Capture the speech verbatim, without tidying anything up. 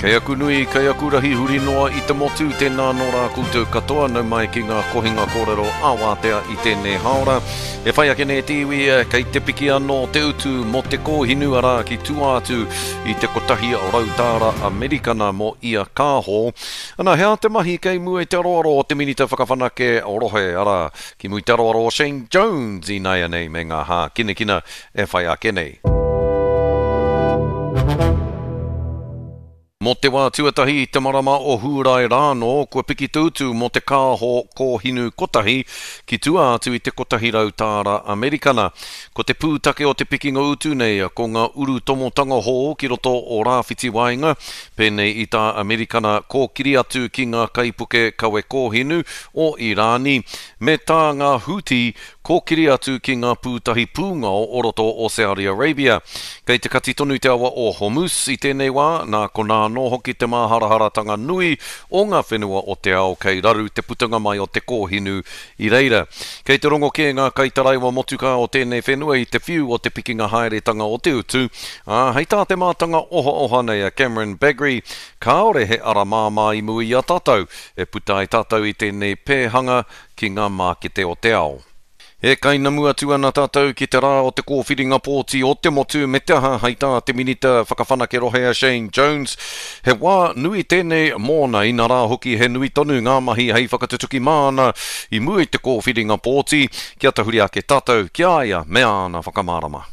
Kei aku nui, kei aku rahi huri noa i te motu, tēnā nō rā koutou katoa, nau mai ki ngā kohinga kōrero ā-wātea i tēnei hāora. E whai ake nei te iwi, kei te piki anō te utu mō te kōhinu, arā ki tua atu i te kotahi rau tāra Amerikana mō ia kāho. Ana, he aha te mahi kei mua i te aroaro o te Minita Whakawhanake Rohe, arā, ki mua i te aroaro o Shane Jones ināianei me ngā hākinakina e whai ake nei. Mō te wā tuatahi i te marama o Hūrae rānō, kua piki te utu mō te kāho kōhinu kotahi ki tua atu i te kotahi rau tāra Amerikana. Ko te pūtake o te pikinga utu nei ko ngā urutomotanga hou ki roto o Rāwhiti Waenga, pēnei i tā Amerikana kōkiri atu ki ngā kaipuke kawe kōhinu o Irāni, me tā ngā Houthi kōkiri atu ki ngā pūtahi pūngao o roto o Saudi Arabia. Kei te kati tonu te awa o Hormuz i tēnei wā, nā konā anō hoki te māharaharatanga nui o ngā whenua o te ao kei raru te putanga mai o te kōhinu i reira. Kei te rongo kē ngā kaitaraiwa motukā o tēnei whenua i te whiu o te pikinga haeretanga o te utu, ā, hei tā te mātanga ohaoha nei a Cameron Bagrie, kāore he ara māmā i mua i a tātou e puta ai tātou i tēnei pēhanga ki ngā mākete o te ao. E kainamu atu ana tātou ki te rā o te kōwhiringa pōti o te motu me te aha hei tā te Minita Whakawhanake Rohe a Shane Jones. He wā nui tēnei mōna, inā rā hoki he nui tonu ngā mahi hei whakatutuki māna i mua i te kōwhiringa pōti, kia tahuri ake tātou ki a ia me āna whakamārama.